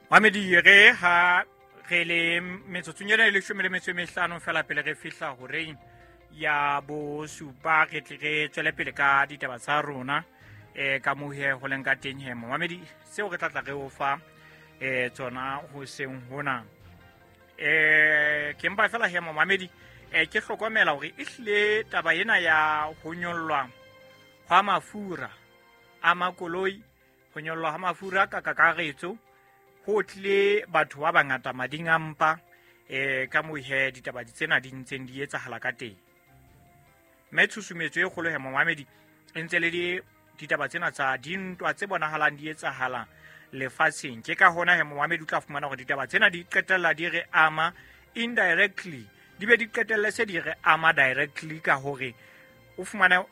Mamedi, re ha re le metsotsong ena e leshome le metso e mehlano fela pele re fihla horeng ya bosupa, re tle re tswele pele ka ditaba tsa rona ka mohe ho leng ka teng. He momamedi, seo re tlatla re o fa tsona ho seng hona, ke mpa fela he momamedi, ke hlokomela hore e hlile taba ena ya ho nyollwa hwa mafura a makoloi, ho nyollwa ha mafura ka kakaretso, ho tlile batho ba bangata mading a mpa ka moo he ditaba tsena di ntseng di etsahala ka teng. Mme tshusumetso e kgolo he momamedi e ntse le ditaba tsena tsa dintwa tse bonahalang di etsahala lefatsheng. Ke ka hona he momamedi o tla fumana hore ditaba tsena di qetella di re ama indirectly, di be di qetelle se di re ama directly, ka hore o fumane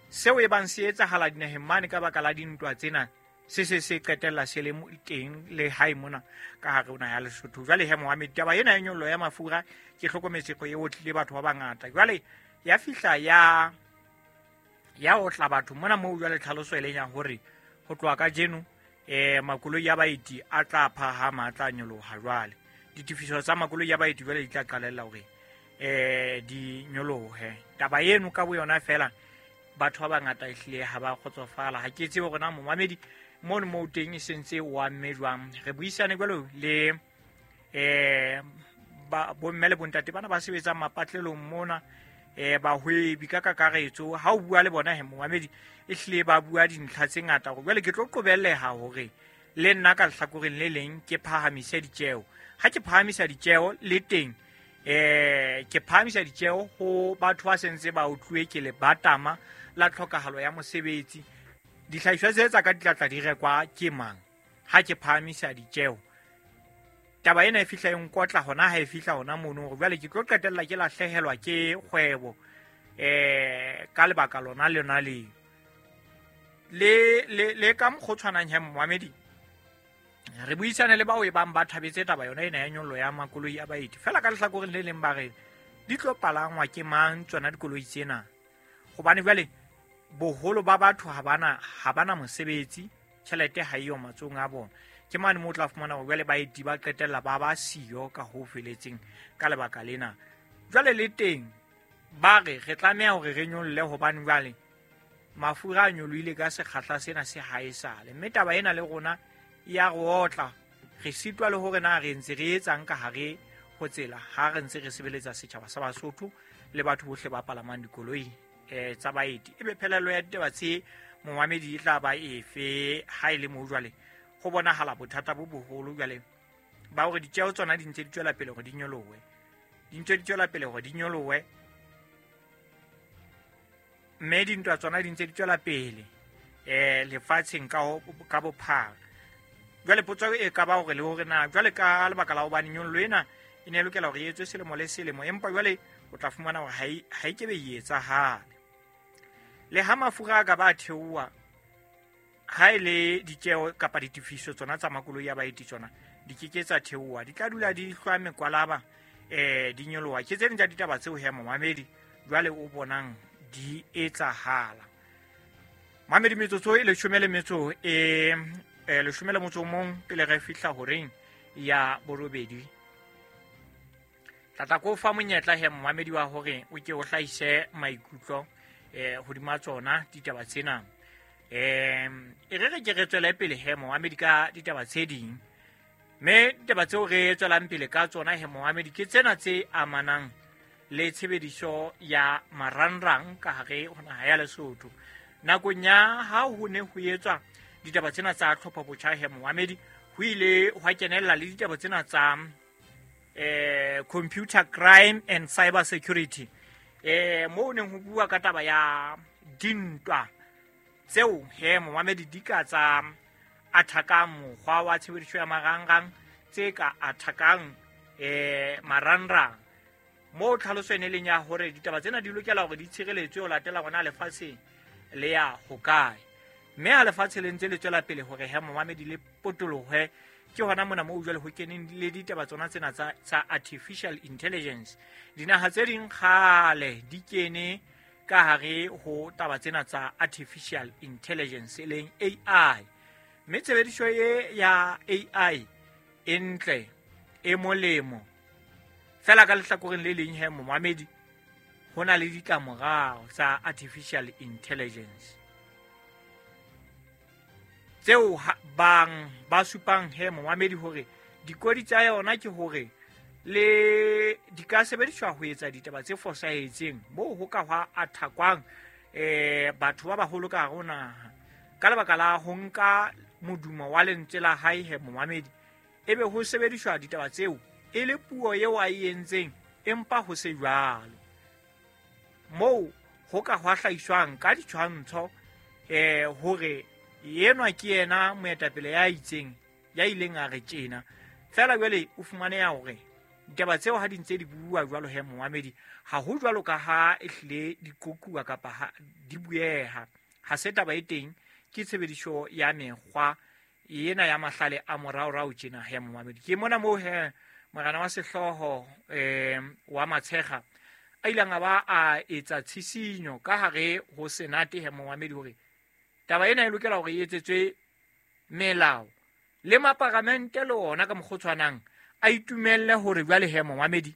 seo e bang se etsahala dinaheng mane ka baka la dintwa tsena se se se qetella se le teng le hae mona ka hare ho naha ya Lesotho. Jwale he momamedi, taba ena ya nyollo ya mafura ke hlokometse go e otlile batho ba bangata. Jwale ya fihla ya otla batho mona moo. Jwale tlhaloso e leng ya hore ho tloha kajeno makoloi ya baeti a tla phahama, a tla nyoloha. Jwale ditefiso tsa makoloi ya baeti jwale di tla qalella hore di nyolohe. Taba eno ka bo yona fela, batho ba bangata ehlile ha ba kgotsofala. Ha ke tsebe hore na momamedi mono moo teng e sentse o amme jwang. Re buisane jwalo le bomme le bontate bana ba sebetsang mapatlelong mona, bahwebi ka kakaretso. Ha o bua le bona he momamedi, e hlile ba bua dintlha tse ngata hore jwale ke tlo qobelleha hore le nna ka lehlakoreng le leng ke phahamise ditjeo. Ha ke phahamisa ditjeo le teng, ke phahamisa ditjeo ho batho ba sentse ba utluwe ke lebatama la tlhokahalo ya mosebetsi. Dihlahiswa tse tsa ka di tlatla di rekwa ke mang ha ke phahamisa ditjeo? Taba ena e fihla e nkotla hona ha e fihla hona mono, hore jwale ke tlo qetella ke lahlehelwa ke kgwebo ka lebaka lona lona leo. Le ka mokgwa o tshwanang he momamedi, re buisane le bao e bang ba thabetse taba yona ena ya nyollo ya makoloi a baeti. Fela ka lehlakoreng le leng ba re di tlo palangwa ke mang tsona dikoloi tsena? Hobane jwale boholo ba batho ha bana mosebetsi, tjhelete ha eyo matsohong a bona. Ke mane moo o tla fumana hore jwale baeti ba qetella ba ba siyo ka ho feletseng ka lebaka lena. Jwale le teng ba re re tlameha hore re nyolle, hobane jwale mafura a nyolohile ka sekgahla sena se haesale. Mme taba ena le rona ya re otla, re sitwa le hore na re ntse re etsang ka hare ho tsela ha re ntse re sebeletsa setjhaba sa Basotho le batho bohle ba palamang dikoloi tsa baeti. Ebe phelelo ya ditaba tse momamedi e tla ba efe ha e le moo jwale go bonahala bothata bo boholo jwale ba hore ditjeo tsona di ntse di tswela pele hore di nyolohe, di ntse di tswela pele hore di nyolohe, mme dintwa tsona di ntse di tswela pele lefatsheng ka bophara. Jwale potso e ka ba hore le hore na jwale ka lebaka la hobane nyollo ena e ne e lokela hore e etswe selemo le selemo, empa jwale o tla fumana hore ha e kebe e etsahale. Le ha mafura a ka ba theoha, ha e le ditjeo kapa ditefiso tsona tsa makoloi a baeti tsona di ke ke tsa theoha, di tla dula di hlwa mekwalaba, di nyoloha. Ke tse ding tsa ditaba tseo he momamedi jwale o bonang di etsahala. Mamedi, metsotso e leshome le metso e leshome le motso o mong pele re fihla horeng ya borobedi. Tlatla ko fa monyetla he momamedi wa hore o ke o hlahise maikutlo hodima tsona ditaba tsena. E re re ke re tswele pele he momamedi ka ditaba tse ding. Mme ditaba tseo re tswelang pele ka tsona he momamedi ke tsena tse amanang le tshebediso ya marangrang ka hare ho naha ya Lesotho. Nakong ya ha ho ne ho etswa ditaba tsena tsa tlhopho botjha he momamedi, ho ile hwa kenella le ditaba tsena tsa computer crime and cyber security, moo neng ho bua ka taba ya dintwa tseo he momamedi di ka tsa athakang mokgwa wa tshebediso ya marangrang, tse ka athakang marangrang. Moo tlhaloso e ne leng ya hore ditaba tsena di lokela hore di tshireletswe ho latela hore na lefatshe le ya hokae. Mme ha lefatshe le ntse le tswela pele hore he momamedi le potolohe, ke hona mona moo jwale ho keneng le ditaba tsona tsena tsa artificial intelligence. Dinaha tse ding kgale di kene ka hare ho taba tsena tsa artificial intelligence e leng AI. Mme tshebediso e ya AI e ntle e molemo. Fela ka lehlakoreng le leng he momamedi, ho na le ditlamorao tsa artificial intelligence tseo bang ba supang he momamedi hore dikodi tsa yona ke hore le di ka sebediswa ho etsa ditaba tse fosahetseng moo ho ka hwa athakwang batho ba baholo ka hare ho naha ka lebaka la ho nka modumo wa lentswe la hae he momamedi, ebe ho sebediswa ditaba tseo e le puo eo a e entseng empa ho se jwalo. Moo ho ka hwa hlahiswang ka ditshwantsho hore enwa ke yena moetapele ya itseng ya ileng a re tjena. Fela jwale o fumaneha hore ditaba tseo ha di ntse di bua jwalo he momamedi, ha ho jwalo ka ha e hlile di qoquwa kapa ha di bueha. Ha se taba e teng, ke tshebediso ya mekgwa ena ya mahlale a moraorao tjena he momamedi. Ke mona moo he morena wa sehlooho wa Matshekga a ileng a ba a etsa tshisinyo ka hare ho senate he momamedi hore taba ena e lokela hore e etsetswe melao le maparamente le ona ka mokgwa o tshwanang a itumelle hore jwale he momamedi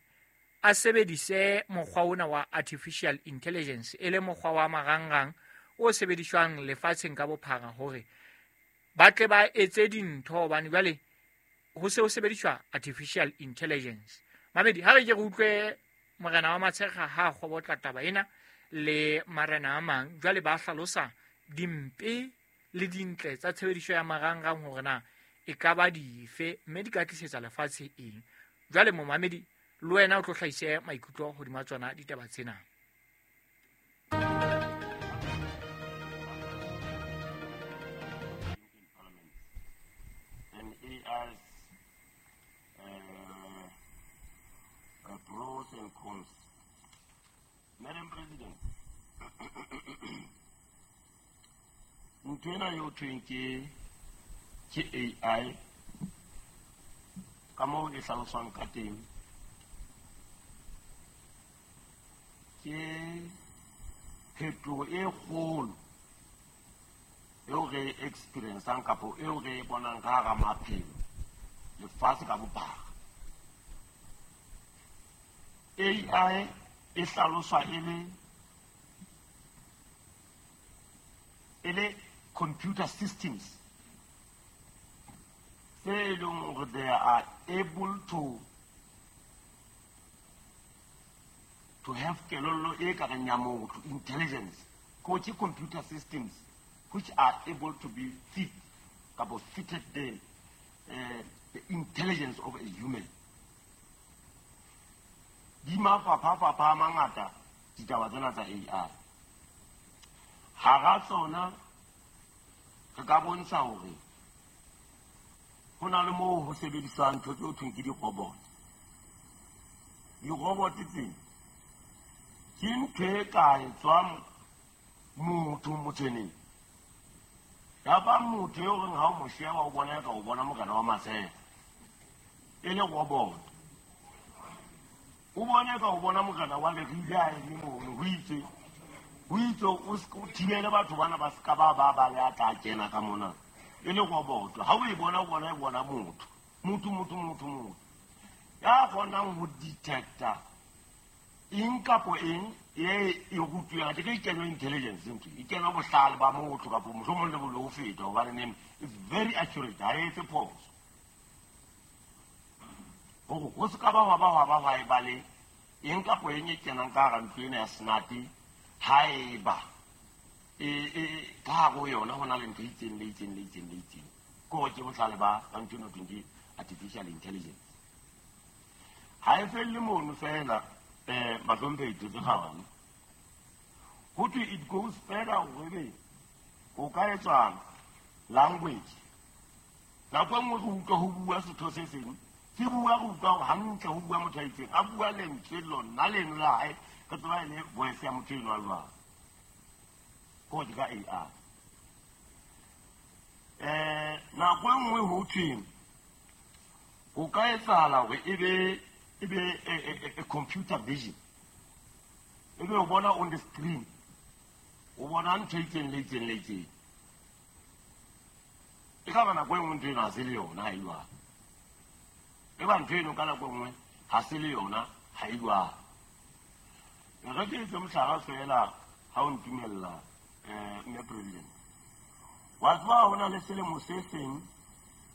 a sebedise mokgwa ona wa artificial intelligence e le mokgwa wa marangrang o sebediswang lefatsheng ka bophara hore ba tle ba etse dintho, hobane jwale ho se ho sebediswa artificial intelligence. Mamedi, ha re ke re utlwe morena wa Matshekga ha a kgobotla taba ena le marena a mang, jwale ba hlalosa dimpe le dintle tsa tshebediso ya marangrang hore na e ka ba dife mme di ka tlisetsa lefatshe eng. Jwale momamedi, le wena o tlo hlahise maikutlo hodima tsona ditaba tsena. Pros and cons. Madam President, ntho ena eo thweng ke AI ka moo e hlaloswang ka teng ke phetoho e kgolo eo re e experiencang kapo eo re e bonang ka hara maphelo lefatshe ka bophara. AI e hlaloswa e le computer systems tse e leng hore they are able to have kelello e ka reng ya motho, intelligence. Ke computer systems which are able to be fit kapo fitted the intelligence of a human. Di mafapha-fapha a mangata ditaba tsena tsa AI. Hara tsona re ka bontsha hore ho na le moo ho sebediswang ntho tseo thweng ke di-robot. Di-robot tsena ke ntho e ka etswang motho motjheneng. Ya ba motho eo reng ha o mo sheba o bona eka o bona morena wa Matshekga e le robot. O bone ka o bona morena wa Lerile a eme mono, ho itse o thibele batho bana ba ska ba ba le a tla kena ka mona e le robot. Ha o e bona o bona e bona motho motho motho motho motho ya kgonang ho detecta eng kapo eng e e rutwang ke e kenwa intelligence ntho e kenwa bohlale ba motho kapo mohlomong le bolo ho feta, hobane neng it's very accurate, ha e etse phoso. Hore ho se ka ba hwa ba hwa ba hwa e ba le eng kapo eng e kenang ka hara ntlo ena ya senate, haeba e ka hare ho yona ho na le ntho e itseng le itseng le itseng le itseng. Ke hore ke bohlale ba ntho eno thweng ke artificial intelligence. Ha e felle mono fela, bahlomphehi tse kgabane. Ho thwe it goes further hore ebe o ka etswa language. Nako e nngwe re utlwa ho bua setho se seng, se bua re utlwa hore hantle ho bua motho a itseng, a bua lentswe lona leno la hae, re tseba e le voice ya motho eno a jwang. Ke hore ke ka AI. Nako e nngwe ho thwe ho ka etsahala hore ebe a computer vision. Ebe o bona on the screen, o bona ntho e itseng le itseng le itseng. E ka ba nako e nngwe ntho eno ha se le yona ha e jwalo. E ba ntho eno ka nako e nngwe ga se le yona ga e jwalo. Re ke etse mohlala fela ha o ntumella mme president. Wa tseba ho na le selemo se seng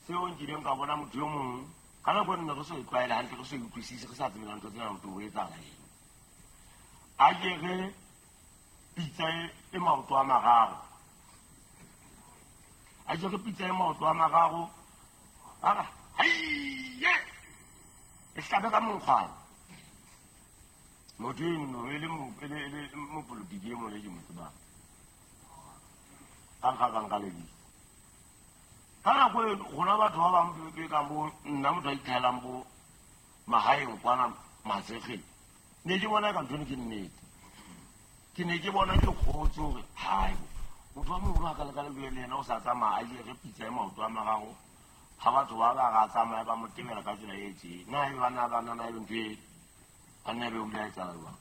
seo nkileng ka bona motho yo mong ka nako e nne re so e tlwaele hantle, re so e utlwisise, re sa tsebe ntho tsena motho o etsahala eng. A jere pitsa e maoto a mararo. A jere pitsa e maoto a mararo. A re, haiye! E hlabe ka monkgwana. Motho eno e le mopolotiki e mong e ke mo tsebang. Ka nkga ka nka lebitso. Ka nako e rona batho ba bang be kang bo nna motho a itlhaelang bo mahaeng kwana Matsegeng. Ne ke bona ka ntho eno ke nnete. Ke ne ke bona ke kgotse hore hai motho wa moholo a ka leka le le yena o sa tsamaya a jere pitsa e maoto a mararo ha batho ba ba ga tsamaya ba mo tebela ka tsela e tje. Na e bana ba nna e ntho e a nna be o ile a etsahala jwang.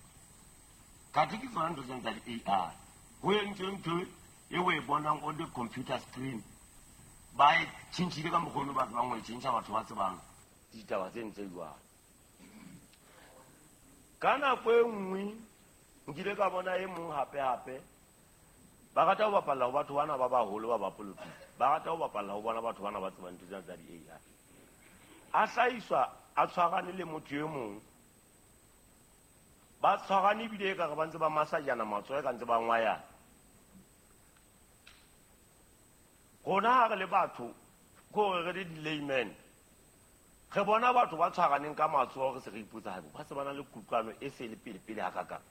Kathe ke tsona ntho tsena tsa di-A_I. Ho entswe ntho e o e bonang on the computer screen. Ba e tjhentjhile ka mokgwa ono ba tsebang ho e tjhentjha batho ba tsebang ditaba tse ntse jwalo. Ka nako e nngwe nkile ka bona e mong hape-hape ba rata ho bapalla ho batho bana ba baholo ba bapolotiki. Ba rata ho bapalla ho bona batho bana ba tsebang ntho tsena tsa di-A_I. A hlahiswa a tshwarane le motho e mong. Ba tshwarane ebile ekare ba ntse ba masajana matsoho ka ntse ba ngwayana. Rona ha re le batho ke hore re le di-layman. Re bona batho ba tshwaraneng ka matsoho re se re ipotsa haebo ba se ba na le kutlwano e se le pele-pele hakakang.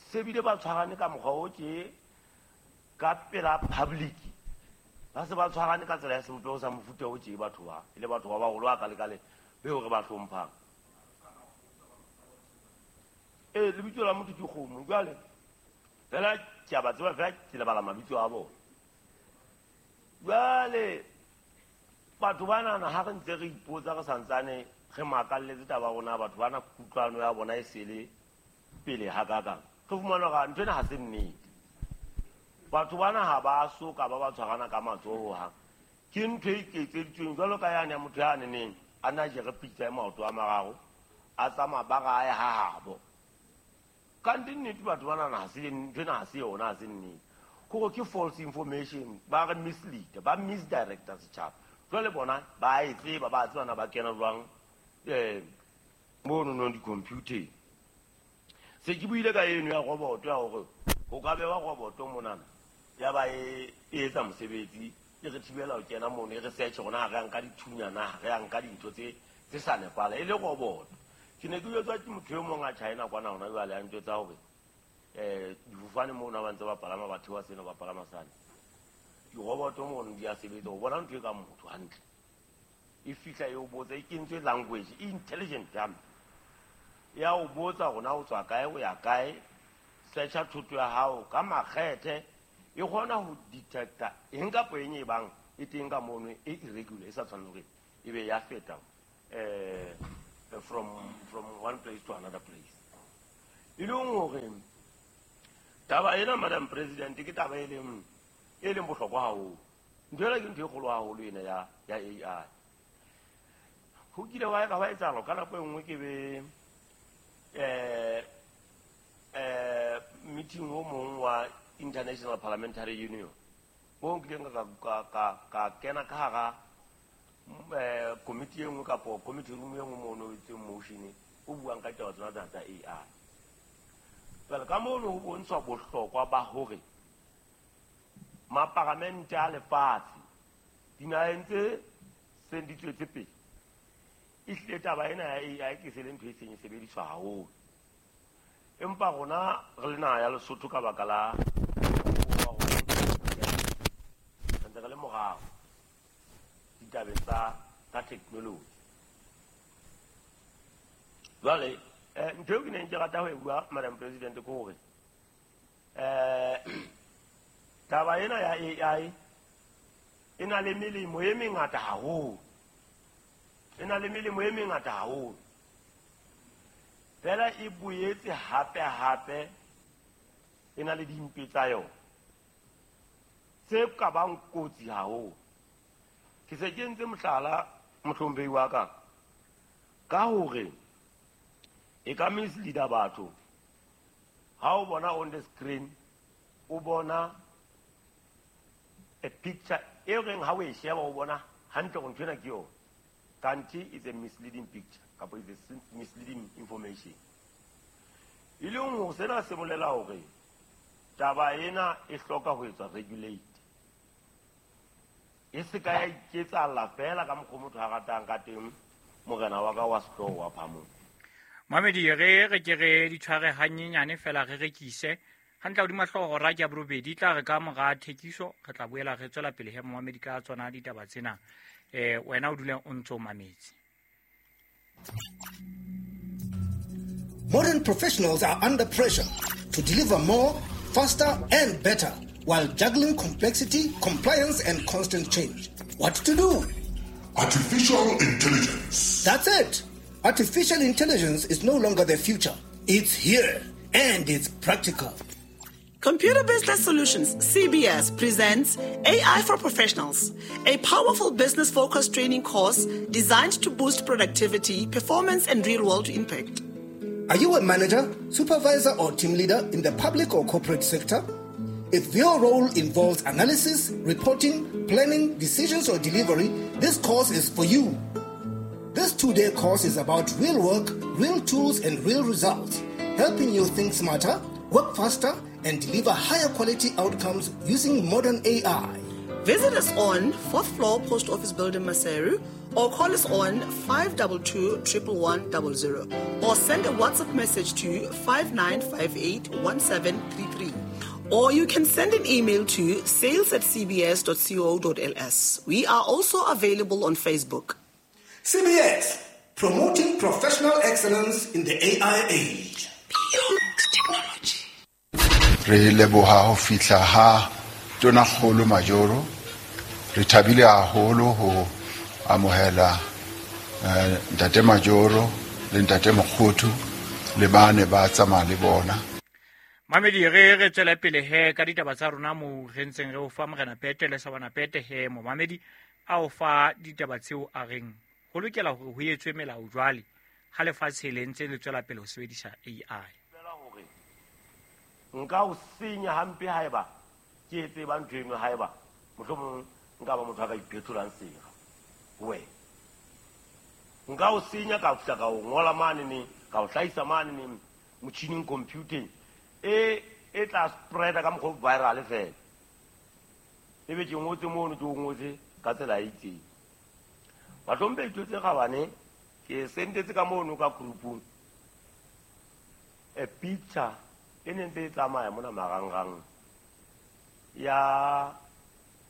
Se bile ba tshwarane ka mokgwa o tje ka pela public. Ba se ba tshwarane ka tsela ya sebopeho sa mofuta o tje batho ba, e le batho ba baholo a kale-kale beo re ba hlomphang. Ee, lebitso la motho ke kgomo. Jwale fela ke a ba tseba fela ke lebala mabitso a bona. Jwale batho banana ha re ntse re ipotsa re santsane re makalletse taba ya rona, batho bana kutlwano ya bona e sele pele hakakang. Re fumana hore ntho ena ha se nnete. Batho bana ha ba so ka ba ba tshwarana ka matsoho hohang. Ke ntho e iketseditsweng jwalo ka yane ya motho ya neneng a na jere pitsa e maoto a mararo a tsamaya ba ra ya ha habo. Kante nnete batho bana ha se ntho ena ha se yona, ha se nnete. Kore ke false information, ba re mislead, ba misdirecta setjhaba. Jwale bona ba e tseba, ba tseba na ba kena jwang mono nong di-computer. Se ke buile ka eno ya roboto ya hore ho ka bewa roboto monana ya ba e etsa mosebetsi e re thibela ho kena mono, e re search rona ha re ya nka dithunya na, ha re ya nka dintho tse sa nepahala, e le roboto. Ke ne ke jwetswa ke motho e mong a China kwana hona jwale a ntjwetsa hore difofane mono ba ntse ba palama, ba theoha sena ba palama sane. Diroboto mono di a sebetsa, o bona ntho e kang motho hantle. E fihla e o botsa, e kentswe language, e intelligent hampe. Ya o botsa hore na o tswa kae, o ya kae, searcha thoto ya hao ka makgethe, e kgona ho detecta eng kapa eng e bang e teng ka mono e irregular, e sa tshwaneng hore e be ya feta from one place to another place. E leng hore taba ena, Madam President, ke taba e leng bohlokwa haholo. Ntho ena ke ntho e kgolo haholo ena ya AI. Ho kile wa ka wa etsahala ka nako e nngwe ke be meeting o mong wa International Parliamentary Union mo nkileng ka kena ka hara committee e nngwe kapo committee room e nngwe mono e itseng motion o buang ka taba tsena tsa AI. Jwale ka mono ho bontshwa bohlokwa ba hore maparamente a lefatshe dinaheng tse seng di tswetse pele ehlile taba ena ya AI ke se le ntho e seng e sebediswa haholo. Empa rona re le naha ya Lesotho ka baka la re ntse re le morao ditabeng tsa technology. Jwale ntho eo ke neng ke rata ho e bua, Madam President, ke hore taba ena ya AI e na le melemo e mengata haholo. E na le melemo e mengata haholo. Fela e boetse hape-hape e na le dimpe tsa yona tse ka bang kotsi haholo. Ke se ke entse mohlala, mohlomphehi wa ka. Ka hore e ka mislead-a batho. Ha o bona on the screen, o bona a picture e reng ha o e sheba o bona hantle hore nthwena ke yona. Kanthe it's a misleading picture kapa it's a misleading information. E leng hore sena se bolela hore taba ena e hloka ho etswa regulate. E se ka ya iketsahalla feela ka mokgwa motho a ratang ka teng, morena wa ka wa sehlooho wa Phamong. Mamedi, re re ke re di tshware hanyenyane fela re rekise hantle hodima hlooho hora ke ya borobedi. Tla re ka mora thekiso re tla boela re tswela pele he momamedi ka tsona ditaba tsena. Wena o dule o ntso mametse. Modern professionals are under pressure to deliver more, faster and better while juggling complexity, compliance and constant change. What to do? Artificial intelligence. That's it. Artificial intelligence is no longer the future. It's here and it's practical. Computer Business Solutions, CBS, presents AI for Professionals, a powerful business-focused training course designed to boost productivity, performance, and real-world impact. Are you a manager, supervisor, or team leader in the public or corporate sector? If your role involves analysis, reporting, planning, decisions, or delivery, this course is for you. This 2-day course is about real work, real tools, and real results, helping you think smarter, work faster, and deliver higher quality outcomes using modern AI. Visit us on 4th floor Post Office Building, Maseru, or call us on 522 11100, or send a WhatsApp message to 5958 1733. Or you can send an email to sales@cbs.co.ls. We are also available on Facebook. CBS, promoting professional excellence in the AI age. Beyond technology. Re leboha ho fihla ha Tonakgolo Majoro. Re thabile haholo ho amohela Ntate Majoro le Ntate Mokgothu le bane ba tsamaya le bona. Mamedi, re re tswele pele he ka ditaba tsa rona mo re ntseng re o fa Morena Pete le Sabana Pete he momamedi a o fa ditaba tseo a reng ho lokela hore ho etswe melao jwale ha lefatshe le ntse le tswela pele ho sebedisa AI. Nka o senya hampe haeba ke e tseba ntho eno, haeba mohlomong nka ba motho a ka iphetholang sera we. Nka o senya ka fihla ka o ngola mane ne, ka o hlahisa mane ne motjhining computing e tla spreada ka mokgwa viral fela. Ebe ke ngotse mono, ke o ngotse ka tsela e itseng. Bahlompe tse gabane ke sentetse ka mono ka groupung a picture e ne ntse e tsamaya mona marangrang ya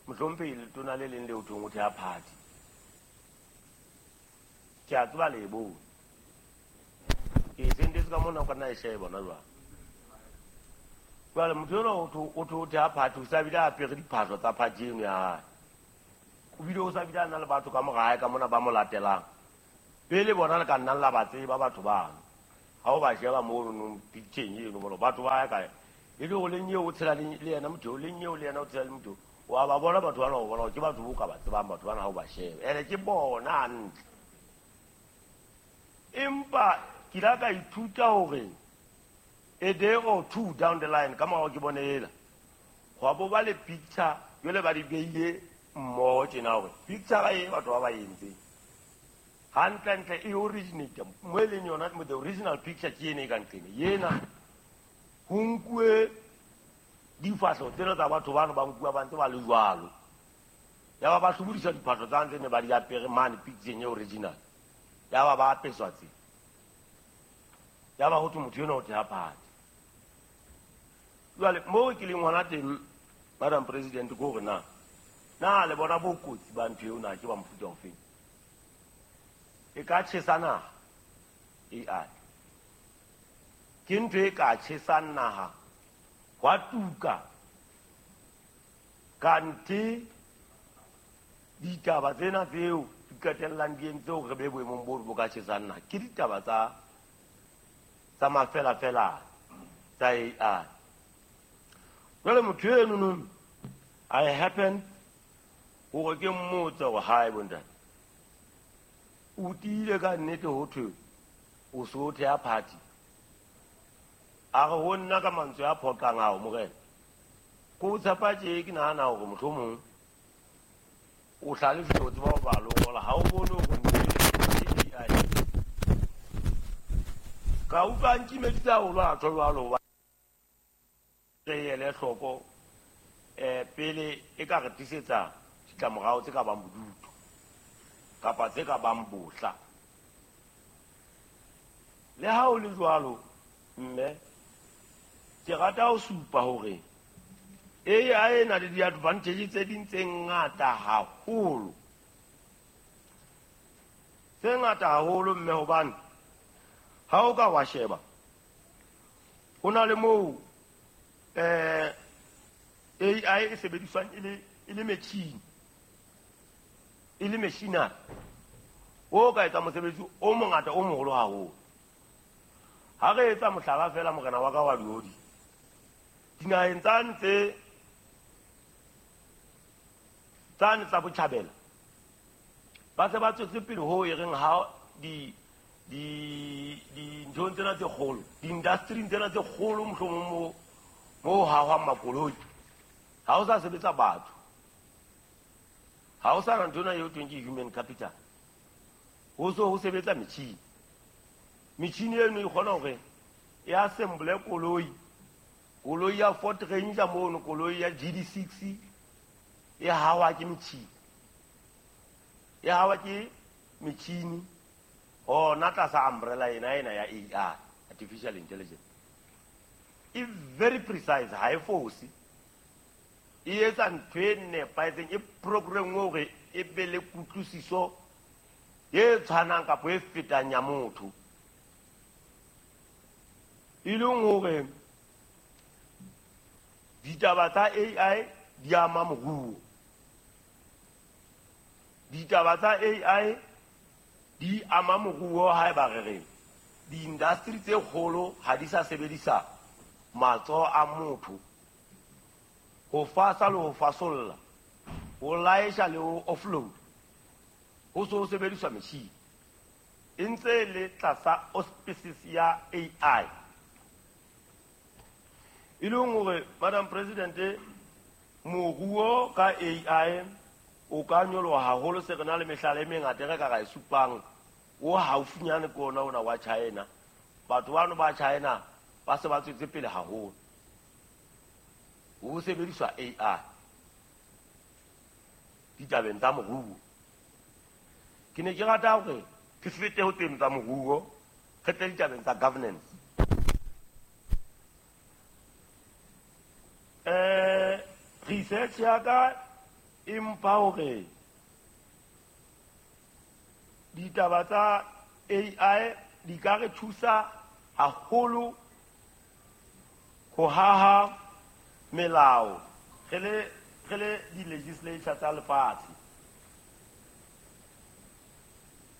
mohlompe letona le leng le o thong o thea party. Ke a tseba le e bone. Ke sentetse ka mona o ka nna e sheba hona jwale. Jwale motho enwa o tho o thea party, o sa bile a apere diphahlo tsa party eno ya hae. O bile o sa bile a na le batho ka mora hae ka mona ba mo latelang. Pele bona le ka nnang la ba tseba batho bano. Ha o ba sheba mono picture-eng eno bona batho ba ya kae. E le hore le nyeo o tshela le yena motho, le nyeo le yena o tshela le motho. Wa ba bona batho bana, o bona ke batho bo ka ba tsebang batho bana ha o ba sheba. Ene ke bona hantle. Empa ke la ka ithuta hore a day or two down the line ka morao ke bone ela. Hwa bo ba le picture jwale ba di beile mmoho tjena hore picture e batho ba ba entseng. Hantle-ntle e originate mo e leng yona, the original picture ke ena e ka nqene. Yena ho nkuwe difahleho tsena tsa batho bano ba nkuwa ba ntse ba le jwalo. Ya ba ba hlobodisa diphahlo tsa ntse ne ba di apere mane picture e original. Ya ba ba apeswa tse. Ya ba ho thwe motho enwa o thea party. Jwale moo ke leng hona teng, Madam President, ke hore na le bona bokotsi ba ntho eo na ke ba mofuta ofeng? E ka tjhesa naha AI. Ke ntho e ka tjhesang naha hwa tuka. Kanthe ditaba tsena tseo di qetellang di entse hore re be boemong bo bo ka tjhesang naha ke ditaba tsa mafelafela tsa AI. Jwale motho eno I happen hore ke mmotse hore hae bontate. O tiile ka nnete ho thwe o so thea party. A re ho nna ka mantswe a phoqang ao morena. Ko tshepa tje ke nahana hore mohlomong o hlalefile o tseba ho bala o ngola, ha o bone hore ntho e AI. Ka utlwa nkimeditse haholo a tjho jwalo hoba re ele hloko pele e ka re tlisetsa ditlamorao tse ka bang bodutu kapa tse ka bang bohla. Le ha o le jwalo mme ke rata ho supa hore AI e na le di-advantage tse ding tse ngata haholo. Tse ngata haholo mme hobane ha o ka wa sheba ho na le moo AI e sebediswang e le metjhini, e le machinery o ka etsa mosebetsi o mongata o moholo haholo. Ha re etsa mohlala fela morena wa ka wa diodi, dinaheng tsane tsane tsa botjhabela ba se ba tswetse pele ho e reng ha dinthong tsena tse kgolo, di-industry-ing tsena tse kgolo mohlomong mo hahwang makoloi, ha o sa sebetsa batho, ha o sa na ntho ena eo thweng ke human capital, ho so ho sebetsa metjhini. Metjhini eno e kgona hore e assemble koloi, koloi ya Ford Ranger mono, koloi ya GD6 e hawa ke metjhini, e hawa ke metjhini hona tlasa umbrella ena ya AI, artificial intelligence. E very precise, ha e fose, e etsa ntho e nepahetseng, e programme hore e be le kutlwisiso e tshwanang kapa e fetang ya motho. E leng hore ditaba tsa AI di ama moruo, ditaba tsa AI di ama moruo haeba re re di-industry tse kgolo ha di sa sebedisa matsoho a motho ho fasa le ho fasolla, ho laesha le ho offload, ho so ho sebediswa metjhini. E ntse le tlasa auspices ya AI. E leng hore Madam President, moruo ka AI o ka nyoloha haholo. Se re na le mehlala e mengata e re ka ra e supang. O haufinyane ke ona ona wa China. Batho bano ba China ba se ba tswetse pele haholo ho sebediswa AI ditabeng tsa moruo. Ke ne ke rata hore ke fete ho teng tsa moruo, re tle ditabeng tsa governance. Research ya ka e mpha hore ditaba tsa AI di ka re thusa haholo ho haha melao re le di-legislature tsa lefatshe.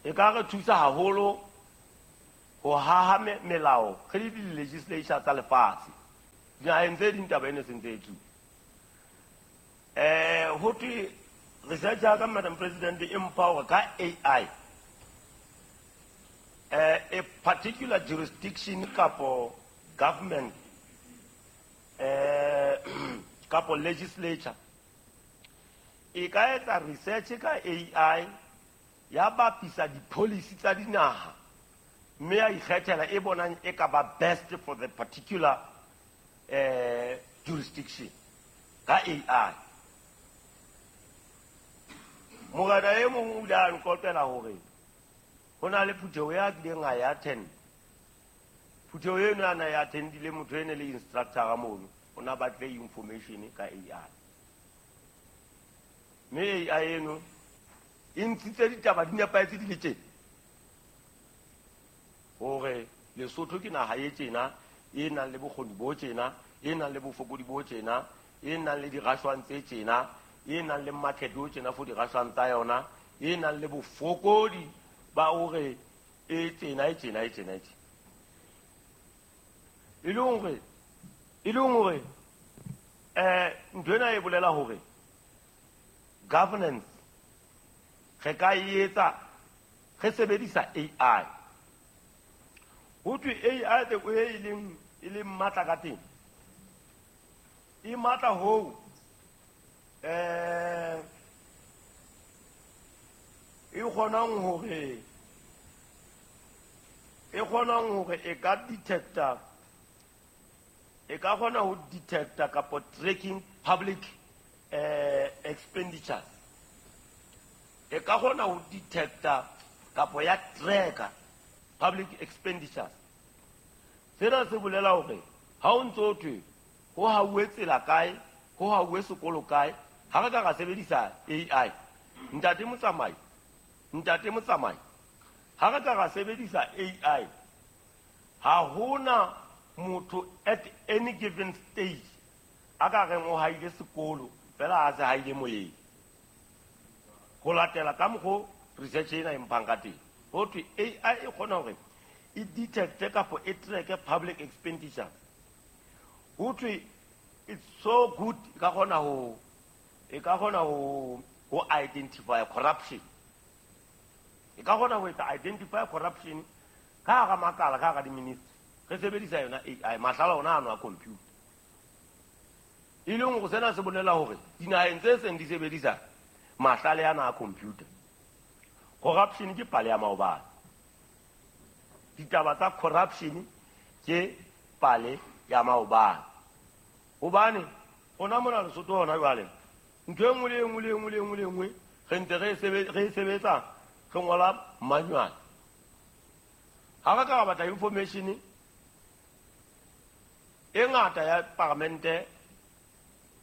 E ka re thusa haholo ho haha melao re le di-legislature tsa lefatshe. Dinaheng tse ding taba ena e sentse e tsuwa. Ho thwe research ya ka Madam President e mpha hore ka AI a particular jurisdiction kapo government kapo legislature e ka etsa research ka AI ya bapisa di-policy tsa dinaha mme ya ikgethela e bonang e ka ba best for the particular jurisdiction ka AI. Morena e mong o ile a nqoqela hore ho na le phutheho ya kileng a ya attend. Phutheho eno a na ya attendile motho ene le instructor mono, o na batle information ka AI. Mme AI eno e ntshitse ditaba di nepahetse di le tjena hore Lesotho ke naha e tjena, e nang le bokgoni bo tjena, e nang le bofokodi bo tjena, e nang le dirashwang tse tjena, e nang le market o tjena for dirashwang tsa yona, e nang le bofokodi ba hore e tjena, e tjena, e tjena, e tjena. E leng hore ntho ena e bolela hore governance re ka e etsa Re sebedisa AI. Ho thwe AI the way e leng matla ka teng. E matla hoo e kgonang hore e ka detecta, e ka kgona ho detecta kapa tracking public expenditures. E ka kgona ho detecta kapa ya tracker public expenditures. Sena se bolela hore ha o ntso thwe ho hauwe tsela kae, ho hauwe sekolo kae, ha re ka ra sebedisa AI. Ntate Motsamai, ha re ka ra sebedisa AI, ha hona motho at any given stage a ka reng o haile sekolo fela a se haile moyeng. Ho latela ka mokgo research ena e mphang ka teng, ho thwe AI e kgona hore e detecte kapa e tracke public expenditure. Ho thwe it's so good e ka kgona ho identify corruption. E ka kgona ho etsa identify corruption ka hara makala, ka hara di-ministry. Re sebedisa yona AI, mahlala ona ano a computer. E leng hore sena se bolela hore dinaheng tse seng di sebedisa mahlale ana a computer, corruption ke pale ya maobane. Ditaba tsa corruption ke pale ya maobane. Hobane rona mona Lesotho hona jwale, ntho e nngwe le e nngwe le e nngwe le e nngwe le e nngwe re ntse re e sebetsa, re ngola manual. Ha re ka ra batla information e ngata ya paramente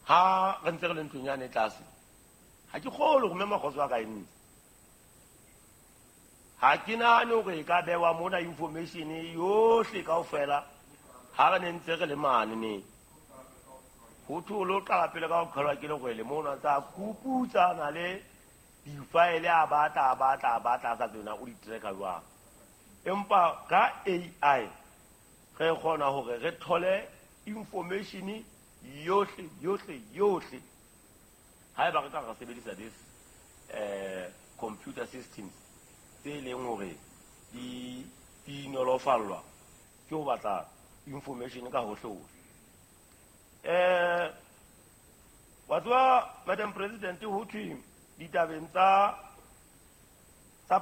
ha re ntse re le ntlong yane tlase, ha ke kgolwe hore mme Makgotso a ka e ntse. Ha ke nahane hore e ka bewa mona information yohle kaofela ha re ne ntse re le mane ne. Ho thwe o lo qala pele ka ho qhelwa ke lerwele mono, tsa kuputsana le difaele a batla a sa tsena o di tracker jwang. Empa ka AI re kgona hore re thole information yohle yohle yohle haeba re ka re sebedisa this computer systems tse leng hore di nolofallwa ke ho batla information ka hohle hohle. Wa tseba Madam President, ho thwe ditabeng tsa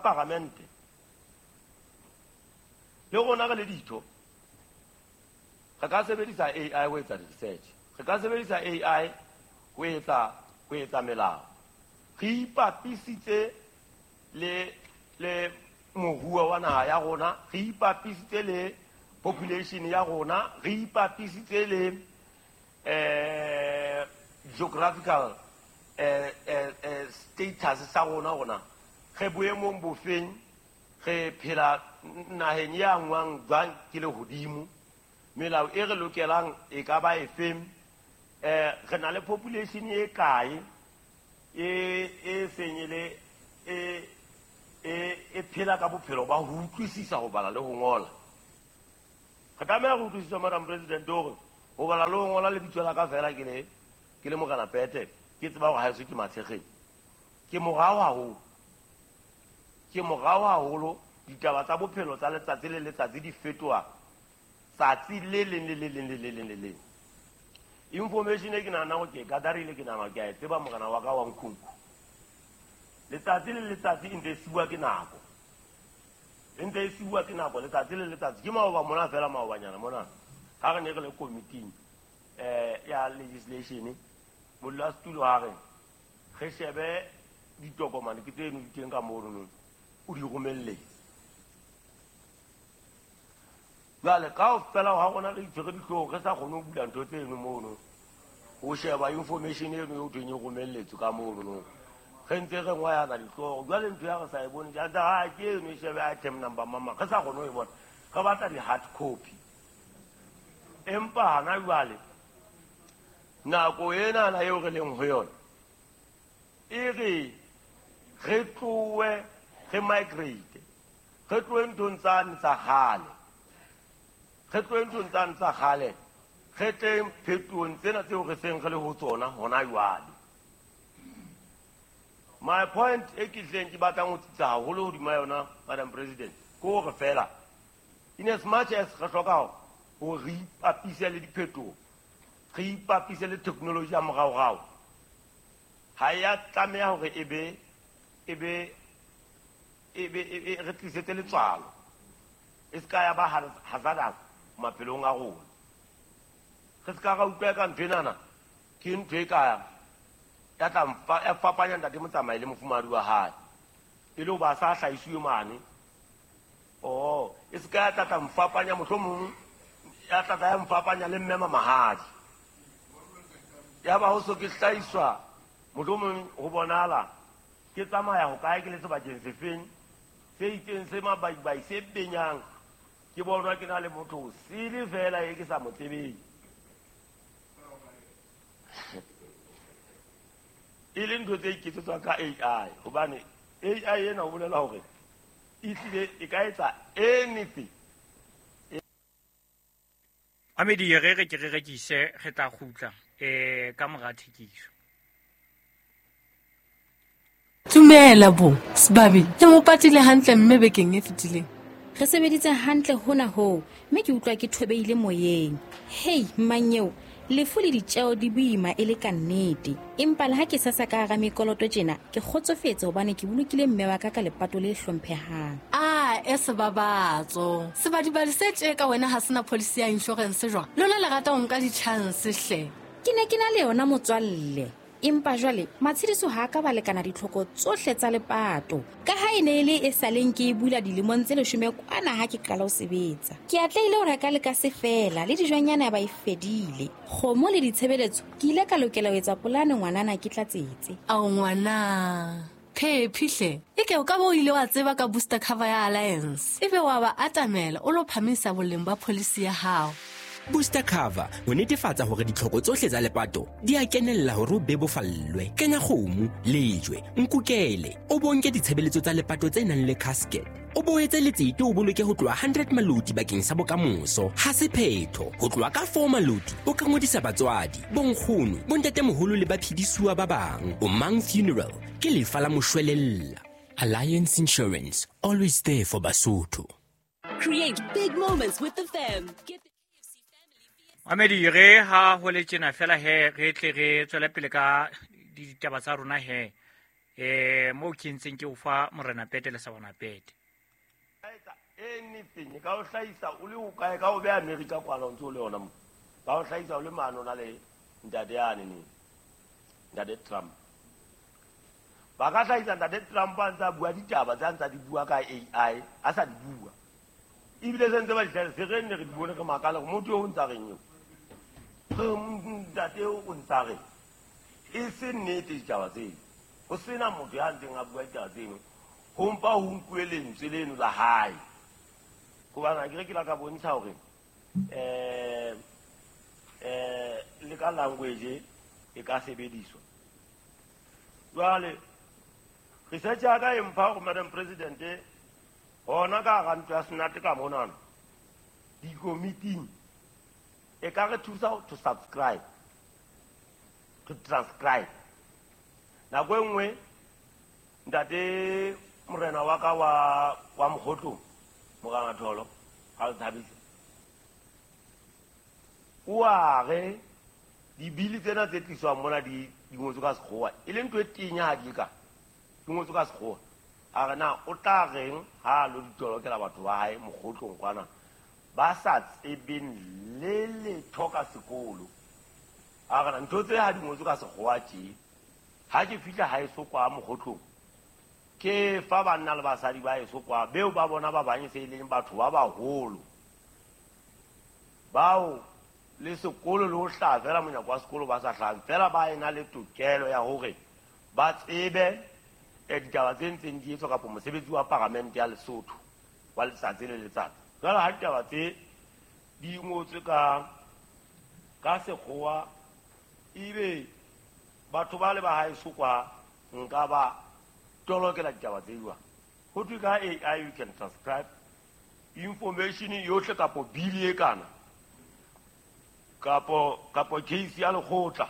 paramente le rona re le ditho re ka sebedisa AI ho etsa research, re ka sebedisa AI ho etsa melao. Re ipapisitse le moruo wa naha ya rona, re ipapisitse le population ya rona, re ipapisitse le geographical status sa rona. Re boemong bofeng, re phela naheng e angwang jwang ke lehodimo, melao e re lokelang e ka ba efeng, re na le population e kae e seng e le e phela ka bophelo ba ho utlwisisa ho bala le ho ngola. Re tlameha ho utlwisisa Madam President hore ho bala le ho ngola lebitso la ka fela ke le Morena Pete, ke tseba hore haeso ke Matshekgeng. Ke morao haholo. Ditaba tsa bophelo tsa letsatsi le letsatsi di fetoha tsatsi le leng le le leng le le leng le leng. Information e ke nahana hore ke e gatherile, ke nahana ke a e tseba morena wa ka wa Nkhunku. Letsatsi le letsatsi e ntse e siuwa ke nako. Letsatsi le letsatsi. Ke maoba mona fela, maobanyana mona ha re ne re le committee ya legislation, modulasetulo ha re re shebe ditokomane ke tseno di teng ka mono, o di romelletse. Jwale kaofela ha rona re itshwere dihlooho, re sa kgone ho bula ntho tseno mono, ho sheba information eno eo thweng e romelletswe ka mono, re ntse re ngwayana dihlooho. Jwale ntho ya re sa e bone, ha ke eno e shebe item number mama, re sa kgone ho e bona, re batla di-hard copy. Empa hana jwale nako enana eo re leng ho yona e re re tlohe re migrate, re tlohe nthong tsane tsa kgale, re tleng phetohong tsena tseo re seng re le ho tsona hona jwale. My point e ke hleng ke batlang ho tsitsa haholo hodima yona, Madam President, ke hore fela in as much as re hloka hore re ipapise le diphetoho, re ipapise le technology ya moraorao, ha ya tlameha hore e be re tlisetse letswalo, e se ka ya ba hazardous maphelong a rona. Re se ka ra utlwa ka ntho enana ke ntho e ka ya tla ya fapanya ntate Motsamai le mofumahadi wa hae, e le hoba a sa hlahiswe mane. Oh, e se ka ya tla mfapanya mohlomong ya tla ya mfapanya le mme Mamahadi, ya ba ho so ke hlahiswa mohlomong ho bonahala ke tsamaya ho kae ke le sebakeng sefeng se itseng se mabaibai se benyang, ke bonwa ke na le motho o sele fela e ke sa mo tsebeng. E le ntho tse iketsetswang ka AI, hobane AI ena o bolela hore e hlile e ka etsa anything. Amedi re re ke re rekise, re tla kgutla ka mora thekiso. Tumela bo Sebabi, ke mo patile hantle mme bekeng e fetileng. Re sebeditse hantle hona hoo, mme ke utlwa ke thobeile moyeng. Hei mmanyeo, lefu le ditjeo di boima e le ka nnete. Empa le ha ke sasa ka hara mekoloto tjena, ke kgotsofetse hobane ke bolokile mme wa ka ka lepato le hlomphehang. A e sebabatso. Sebadibadi se tje ka wena ha sena policy ya insurance jwang? Lona le rata ho nka di-chance hle. Ke ne ke na le yona motswalle. Empa jwale matshediso ha ka ba lekana ditlhoko tsohle tsa lepato, ka ha e ne e le e saleng ke e bula dilemong tse 10 kwana ha ke qala ho sebetsa. Ke atlehile ho reka le ka se fela le dijonyana ba e fedile. Kgomo le ditshebeletso ke ile ka lokela ho etsa polane ngwanana ke tlatsetse. Ao ngwana, phephi hle, e ke o ka bo o ile wa tseba ka booster cover ya Alliance, ebe wa ba atamela o lo phamisa boleng ba policy ya hao. Booster cover ho netefatsa hore ditlhoko tsohle tsa lepato di a kenella hore o bebofallwe. Kenya kgomo, lejwe, nkukele, o bonke ditshebeletso tsa lepato tse nang le casket. O boetse letsete o boloke ho tloha 100 maloti bakeng sa bokamoso. Ha se phetho, ho tloha ka 4 maloti o ka ngodisa batswadi, bonkgono, bontatemoholo le baphedisuwa ba bang. O Mang Funeral ke lefa la moshwelella. Alliance Insurance, always there for Basotho. Create big moments with the fam. Get Amedi re ha ho le tjena fela he re tle re tswele pele ka ditaba tsa rona he mo ke ntseng ke o fa morena Pete le sa bona Pete. Anything ka o hlahisa o le o kae, ka o be America kwana o ntse o le yona mo, ka o hlahisa o le mane o na le ntate yane ne, ntate Trump. Ba ka hlahisa ntate Trump a ntse a bua ditaba tse a ntse a di bua ka AI, a sa di bua. Ebile se ntse ba di hlahisa, re nne re di bone re makale hore motho eo o ntsa reng eo. Ntate o ntsa reng. E se nnete ditaba tseno. Ho sena motho ya ntseng a bua ditaba tseno, ho mpa ho nkuwe lentswe leno la hae. Hobane akere ke la ka bontsha hore le ka language e ka sebediswa. Jwale research ya ka e mpha hore Madam President hona ka hara ntlo ya Senate ka monana dikomiting e ka re thusa to subscribe, to transcribe. Nako e nngwe ntate morena wa ka wa Mokgotlong, Morena Tholo, ha le thabisa, o a re dibili tsena tse tliswang mona di ngotswe ka sekgowa, e le ntho e tenya ha di ka di ngotswe ka sekgowa. A re na o tla reng ha lo ditolokela batho ba hae Mokgotlong kwana ba sa tsebeng le letho ka sekolo. A re na ntho tse ha di ngotswe ka sekgowa tje, ha ke fihla haeso kwa Mokgotlong ke fa banna le basadi ba heso kwa beo ba bona ba bang se e leng batho ba baholo bao le sekolo le ho hlaha fela monyako wa sekolo ba sa hlahang fela, ba ena le tokelo ya hore ba tsebe ditaba tse ntseng di etswa kapa mosebetsi wa paramente ya Lesotho wa letsatsi le letsatsi. Jwale ha ditaba tse di ngotswe ka sekgowa, ebe batho ba le ba haeso kwa nka ba tolokela ditaba tse jwang. Ho thwe ka AI you can transcribe information yohle kapo bill e kana kapo case ya lekgotla.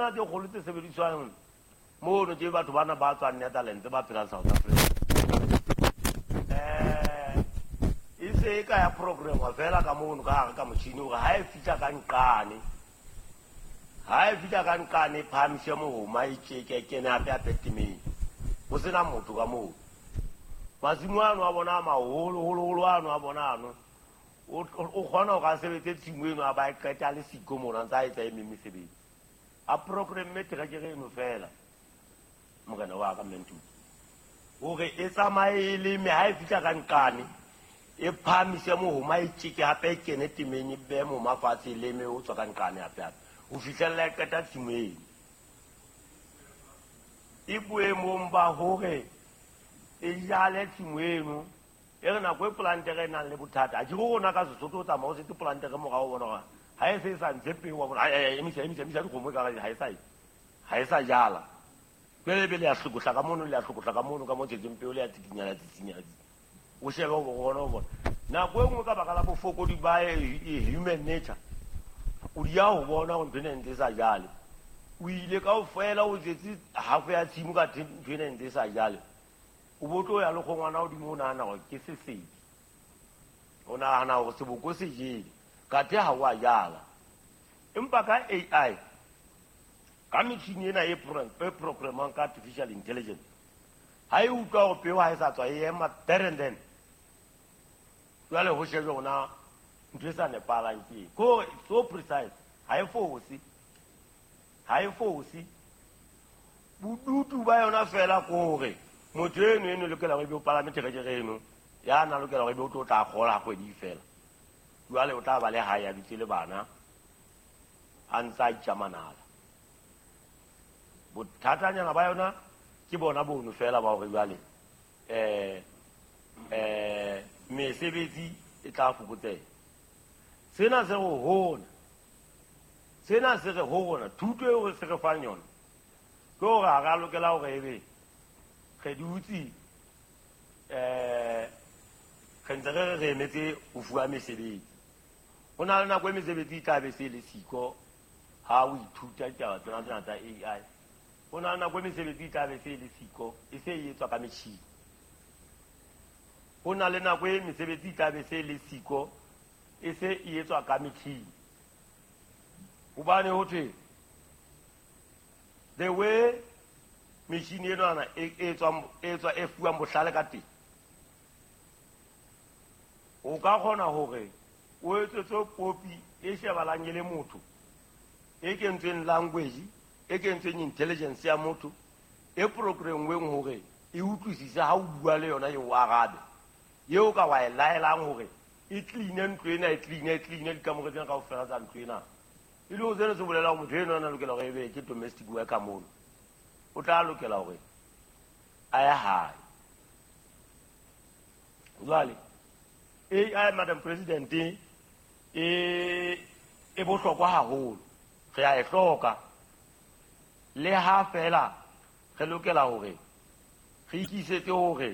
Tsena tse kgolo tse sebediswang mono ke batho bana ba tswang Netherlands ba phelang South Africa. E se e ka ya programwa fela ka mono ka hare ka motjhini hore ha e fihla ka nqane, ha e fihla ka nqane e phahamise mohoma e tjeke e kene hape hape temeng. Ho sena motho ka moo. Masimo ano a bona a maholo holo holo ano a bona ano. O kgona hore a sebetse tshimo eno a ba e qeta le siko mona a ntse a etsa e meng mesebetsi. A programme terekere eno fela morena wa ka Mmentuti. Hore e tsamaye e leme ha e fihla ka nqane e phahamise mohoma e tjeke hape e kene temeng e behe mohoma fatshe e leme o tswa ka nqane hape hape ho fihlella e qeta tshimo eno. E boemong ba hore e jale tshimo eno e re nako e polantere e nang le bothata a ke go rona ka Sesotho o tsamaya o setse polantere morao o bona gore ha e se e sa ntshe peo wa bona emisa emisa emisa dikgomo e kare ha e sa jala. Jwale ebe le ya hlokohla ka mono le ya hlokohla ka mono ka mo tshetseng peo le ya tsikinya la tsitsinya. O shebe o bona o bona. Nako e nngwe ka baka la bofokodi ba human nature o di ya ho bona hore ntho ena e ntse e sa jale. O ile kaofela o jetse half ya tshimo ka ntho ena e ntse e sa jale. O bo tlo ya le kgongwana hodimo o nahana hore ke sesedi. O nahana hore seboko se jele. Kathe ha o a jala. Empa ka AI, ka metjhini ena e programmang ka artificial intelligence, ha e utlwa hore peo ha e sa tswa e ema there and then. Jwale ho shejwe hore na ntho e sa nepahalang ke eng. Ke hore it's so precise, ha e fose. Ha e fose. Bodutu ba yona fela ke hore motho eno eno lokela hore ebe o palame terekere eno, ya na lokela hore ebe o tlo tla kgola kgwedi fela. Jwale o tla ba le hae a dutse le bana a ntse a itja manala. Bothatanyana ba yona ke bona bono fela ba hore jwale mesebetsi e tla fokotseha. Sena se re hona. Sena se re ho rona thuto eo re se re fang yona ke hore ha re a lokela hore ebe re dutse re ntse re re emetse ho fuwa mesebetsi. Ho na le nako e mesebetsi e tla be se le siko ha o ithuta ditaba tsena tsena tsa AI. Ho na le nako e mesebetsi e tla be se le siko e se e etswa ka metjhini. Ho na le nako e mesebetsi e tla be se le siko e se e etswa ka metjhini. Hobane ho thwe the way metjhini enwana e etswa e fuwang bohlale ka teng, o ka kgona hore o etsetse popi e shebalang e le motho, e kentsweng language, e kentsweng intelligence ya motho, e programweng hore e utlwisise ha o bua le yona e o arabe, eo ka wa e laelang hore e clean ntlo ena, e clean dikamore tsena kaofela tsa ntlo ena. E le ho sena se bolela hore motho eno a na lokela hore ebe ke domestic worker mono, o tla lokela hore a ye hae. Jwale AI, Madam President, e bohlokwa haholo, re a e hloka. Le ha fela re lokela hore re ikisetse hore